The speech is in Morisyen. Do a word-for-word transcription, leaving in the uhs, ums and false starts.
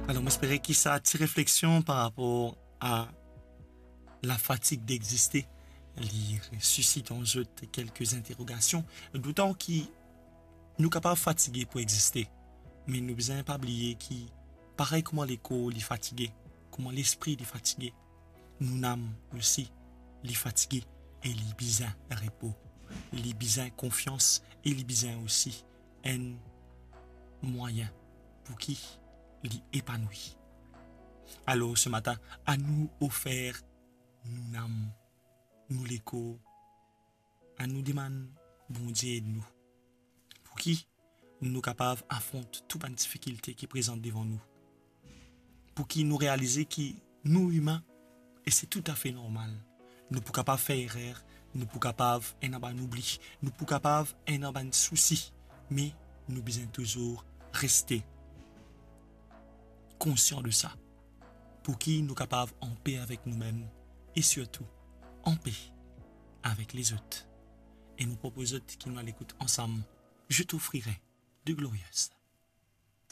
Alor, mo espere ki sa ti refleksion par rapor a lafatig dexiste, li sisit an zot kelke interogasion, dotan ki nou kapav fatige pou existe, me nou bizin pa bliye ki parey kouma lekor li fatige, kouma lespri li fatige, nou nam osi li fatige e li bizin repo, li bizin konfians e li bizin osi enn mwayin pou ki li epanoui. Alor, se matin, anou ofer nou nam, nou lekor, anou demann Bondie ed nou, pou ki nou kapav afront tou bann difikilte ki prezant devan nou, pou ki nou realize ki nou imin e se toutafe normal. Nou pou kapav fer erer, nou pou kapav ena bann oubli, nou pou kapav ena bann sousi, me nou bizin touzour reste konsian de sa, pou ki nou kapav anpe avek noumem e sirtou anpe avek lezot. E mo propoz zot ki nou al ekout ansam Je t'offrirai de glorieuses.